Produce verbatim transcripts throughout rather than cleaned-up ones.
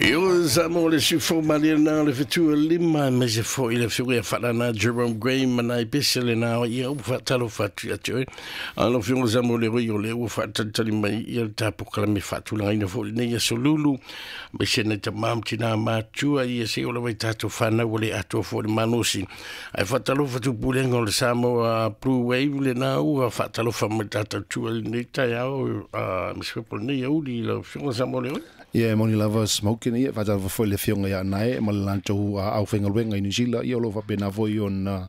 Io sa mo le sufo malia na le fitu lima me se fo i le fiu e whalana Jerome Gray manai pese le na ia u whatalo whatu atu e. A lo fiu sa mo le roi o le ua whatalitali mai ia le tapo kalame whatulanga ina fo le nei aso lulu. Me se nei ta mam tina mātua ia se o le vai tātou whanau o le atua fo le manosi. Ai whatalo whatu pulenga o le Samoa Blue Wave le na ua whatalo whamai tātou tua le nei tai au me se fepo nei auli lo fiu sa mo le roi. Ia moni lava smoking ia whatalo foi le fionga ia nae ma le lantou au whengaluenga i New Zealand ia o lo whapena foi ona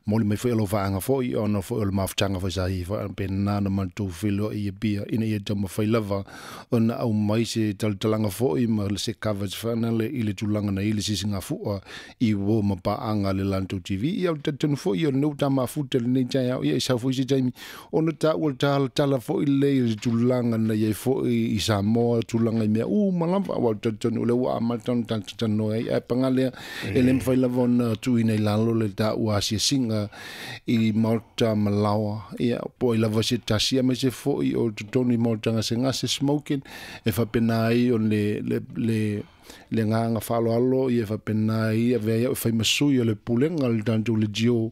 moli mai foi o lo whaanga foi ona foi o le mafutanga foi sa hi whaapena na mantou filo i bia ina ia tama fai lava ona au mai se talatalanga foi ma le se coverage whanale i le tulanga na i le sisinga fua i wo mapaanga le lantou T V ia o tatanu foi o neu tama futa le nei tai au ia i sau foi se taimi ona ta ua tala tala foi le i le tulanga na ia foi i Samoa tulanga i mea u malava wa tatanu le ua amata tatanu ai e pangalea e le mwhai lava ona tuina i lalo le ta ua asiasinga i Maota Malawa ia po i lava se tasi a me se foi o totonu i Maota ngase ngase smoking e whapena ai o le le le le nganga whaloalo ia whapena ai a vea ia whai masui o le pulenga le tantou le jio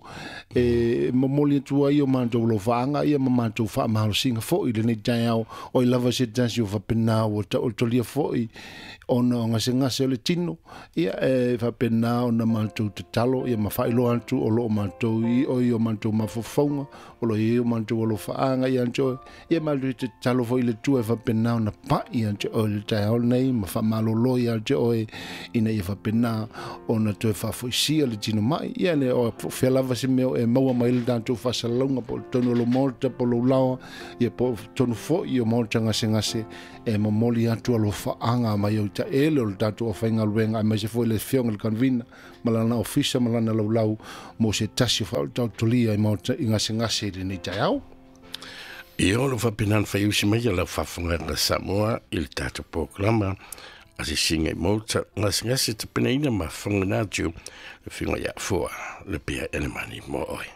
e momoli atu ai o mātou lo whaanga ia ma mātou whaamahalosinga foi le nei tai au o i lava se tasi o whapena o ta o tolia foi ona o ngase ngase o le tino ia e whapena ona mātou tatalo ia ma whailoa atu o lo o mātou i o i o mātou mafofonga o lo i o mātou o lo whaanga ia anto ia mātou tatalo foi le tua e whapena ona pai anto o le tai au nei ma whamalolo ia te oe ina ia whapena ona toe whaafoisia le tino mai ia le o whea lava se mea e maua mai le tātou whasalaunga po tonu lo Maota po lo lawa ia po tonu foi o Maota ngase ngase e momoli atu alo whaanga mai o ta ele o le tātou o whaingaluenga mai se foi le fionga le convina malana ofisa malana laulau mo se tasi o whautautolia i Maota i ngase ngase i le nei tai au. Ia o lo whapenan whaiusi mai la whafunga Samoa i le tātou programa a se singa i Maota ngase ngase te penaina ma whangana atu le whinga ia fua le pia elemani mo oe.